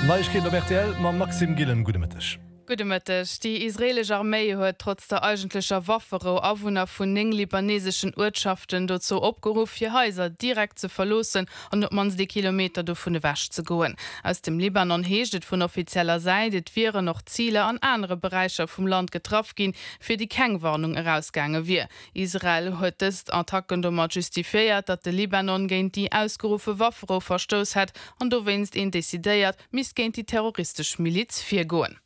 Neiegkeeten op rtl mam Maxime Gillen. Gudde Mëtteg. Gudde Mëtteg. Déi israeelesch Arméi huet trotz der eigentlecher Wafferou Awunner vun 9 libaneseschen Uertschaften dozou opgeruff, hir Haiser direkt ze verloossen an op d'mannst ee Kilometer dovun ewech ze goen. Aus dem Libanon heescht et vun offizieller Säit, et wieren och Ziler an anere Beräicher vum Land getraff ginn, fir déi keng Warnung erausgaange wier. Israel huet dës Attacken domat justifiéiert, datt de Libanon géint déi ausgeruffe Wafferou verstouss hätt an dowéinst een decidéiert misst géint déi terroristesch Miliz virgoen.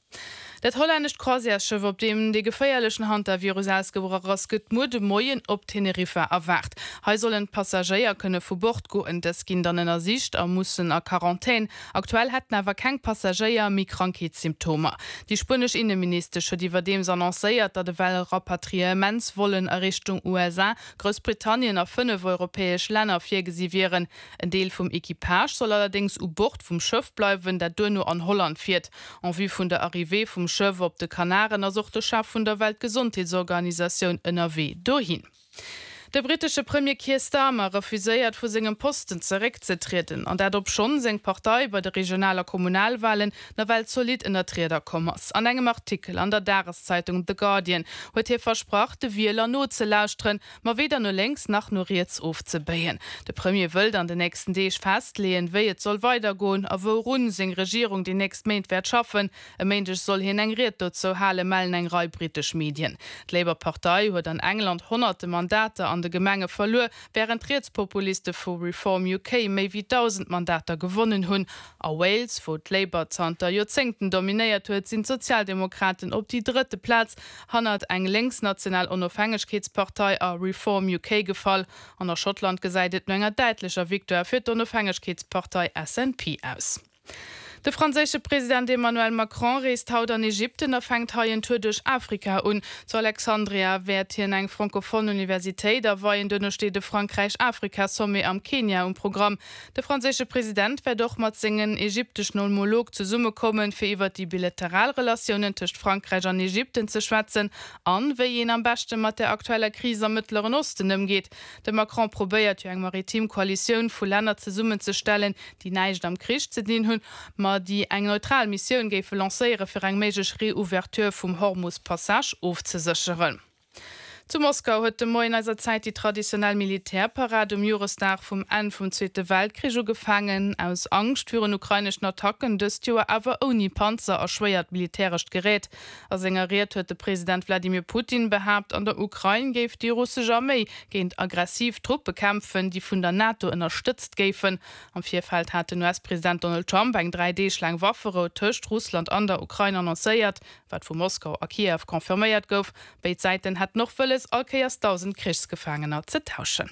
Dat hollännescht Croisièresschëff, op deem de geféierlechen Hantavirus ausgebrach ass, gëtt muer de Moien op Teneriffa erwaart. Hei sollen d'Passagéier kënne vu Bord goen. Dës ginn dann ënnersicht a mussen a Quarantän. Aktuell hätten awer keng Passagéier méi Krankheetssymptomer. Déi spuenesch Inneministesch huet iwwerdeems annoncéiert, datt ewell Rapatriementsvollen a Richtung USA, Groussbritannien a 5 europäesch Länner virgesi wieren. En Deel vum Equipage soll allerdéngs u Bord vum Schëff bleiwen, dat duerno an Holland fiert. En vue vun der Arrivée vum Schëff op de Kanaren ass och de Chef vun der Weltgesondheetsorganisatioun ënnerwee dohin. De brittesche Premier Keir Starmer refuséiert vu sengem Posten zeréckzetrieden, an dat obschonn seng Partei bei de Regional a Kommunalwalen nawell zolidd ënner d'Rieder komm ass. An engem Artikel an der Dageszeitung The Guardian huet hie versprach, de Wieler nozelauschteren, ma weder no lénks nach no riets ofzebéien. De Premier wëllt an den nächsten Deeg festleeën, wéi et soll weidergoen a wourun seng Regierung déi nächst Méint wäert schaffen. E Méindeg soll hien eng Ried dozou halen, mellen eng Rei brittesch Medien. D'Labour-Partei huet an England honnerte Mandater an de Gemenge verluer, wärend d'Rietspopuliste vu Reform UK méi wéi 1.000 Mandater gewonnen hunn. A Wales, wou d'Labour zanter Joerzéngten dominéiert huet, sinn d'Sozialdemokraten op déi drëtte Plaz hannert eng lénksnational Onofhängegkeetspartei a Reform UK gefall. An a Schottland gesäit et no enger däitlecher Victoire fir d'Onofhängegkeetspartei SNP aus. De franséische President Emmanuel Macron reest haut an Ägypten a fänkt hei en Tour duerch Afrika un. Zu Alexandria wäert hien eng francophone Universitéit aweien. Duerno steet e Frankräich-Afrika-Sommet am Kenia um Programm. De franséische President wäert och mat sengen ägypteschen Homolog zesummekommen, fir iwwer déi bilateral Relatiounen tëscht Frankräich an Ägypten ze schwätzen an wéi een am beschte mat der aktueller Kris am Mëttleren Osten ëmgeet. De Macron probéiert jo eng maritim Koalitioun vu Länner zesummenzestellen, déi näischt am Krich ze dinn hunn, ma déi eng neutral Missioun géife lancéiere fir eng méiglech Reouverture vum Hormus-Passage ofzesécheren. Zu Moskau huet de Moien eiser Zäit déi traditionell Militärparad um Joresdag vum Enn vum Zweete Weltkrich ugefaangen. Aus Angscht virun ukraineschen Attacken dëst Joer awer ouni Panzer a schwéiert militärescht Gerät. A senger Ried huet de President Wladimir Putin behaapt, an der Ukrain géif déi russesch Arméi géint aggressiv Truppe kämpfen, déi vun der NATO ënnerstëtzt géifen. Am Virfeld hat den US-President Donald Trump eng 3 Deeg laang Wafferou tëscht Russland an der Ukrain annoncéiert, wat vu Moskau a Kiew confirméiert gouf. Béid Säiten hätten och wëlles, all Kéiers 1.000 Krichsgefaangener ze tauschen.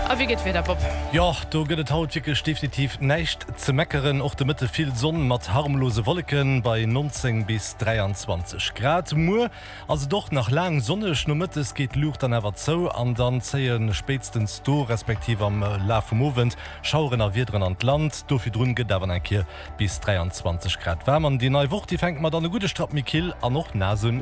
A wéi gëtt d'Wieder, Bob? Jo, do gëtt et haut wierklech definitiv näischt ze meckeren. Och de Mëtte vill Sonn mat harmlose Wolleken bei 19 bis 23 Grad. Muer Ass et och nach laang sonneg, nomëttes geet d'Luucht dann awer zou an dann zéie spéitstens do, respektiv am Laf vum Owend, Schaueren a Wiederen an d'Land. Do virdrun gëtt et awer nach eng Kéier bis 23 Grad waarm an déi nei Woch, déi fänkt mat an e gudde Strapp méi kill an och naass un.